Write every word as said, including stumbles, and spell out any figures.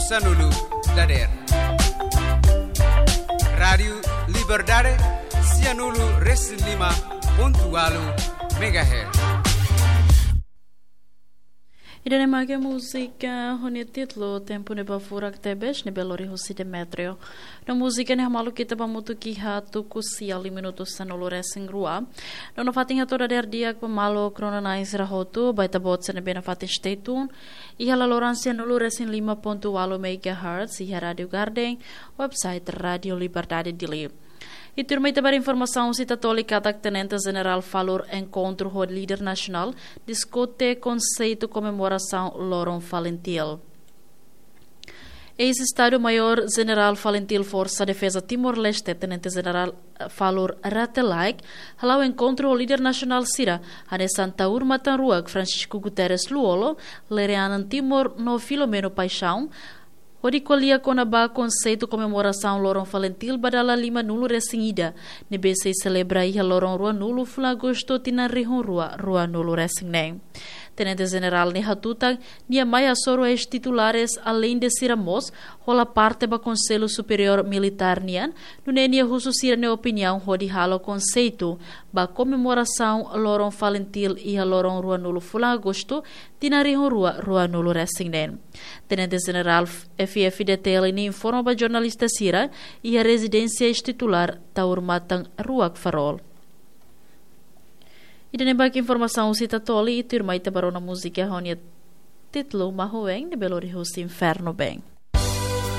Sanulu dader. Rádiu Liberdade, sianulu resin lima pontu walu megahertz. Ida-ne'e mak múzika ho nia títulu Tempu Ne'ebé Furak Tebes, ne'ebé lori husi Demetrio. No múzika ne'e hamaluk ita ba hamutuk iha tuku sia liu minutu sanulu resin rua. No nafatin hato'o dader di'ak ba maluk rona-na'in sira hotu, ba ita-boot sira ne'ebé nafatin stay tune iha laloran sianulu resin lima pontu walu megahertz iha Rádiu Garden, website Rádiu Liberdade Dili. I tuirmai ita ba informasaun husi Tatoli katak Tenente Jenerál Falur enkontru ho líder nasionál, diskute konseitu komemorasaun loron Falintil. Eis-Estadu-Maiór Jenerál Falintil Forsa Defeza Timor-Leste, Tenente Jenerál Falur Rate Laek, hala'o enkontru ho líder nasionál sira, hanesan Taur Matan Ruak Francisco Guterres Lú-Olo, Lere Anan Timor no Filomeno Paixão, hodi ko'alia kona-ba konseitu komemorasaun loron Falintil ba dala lima-nulu resin ida, ne'ebé sei selebra iha loron ruanulu fulan Agostu tinan rihun rua ruanulu resin neen. Tenente Jenerál ne'e hatutan, nia mai hasoru eis-titulares aleinde sira mós hola parte ba Konsellu Superiór Militár nian, nune'e nia husu sira-nia opiniaun hodi halo konseitu ba komemorasaun loron Falintil iha loron ruanulu fulan Agostu tinan rihun rua ruanulu resin neen. Tenente Jenerál F F D T L nia informa ba jornalista sira iha rezidénsia eis-titulár Taur Matan Ruak Farol. Ida-ne'e mak informasaun husi Tatoli, i tuirmai ita ba rona múzika ho nia títulu Mahuen, ne'ebé lori husi Inferno Bem.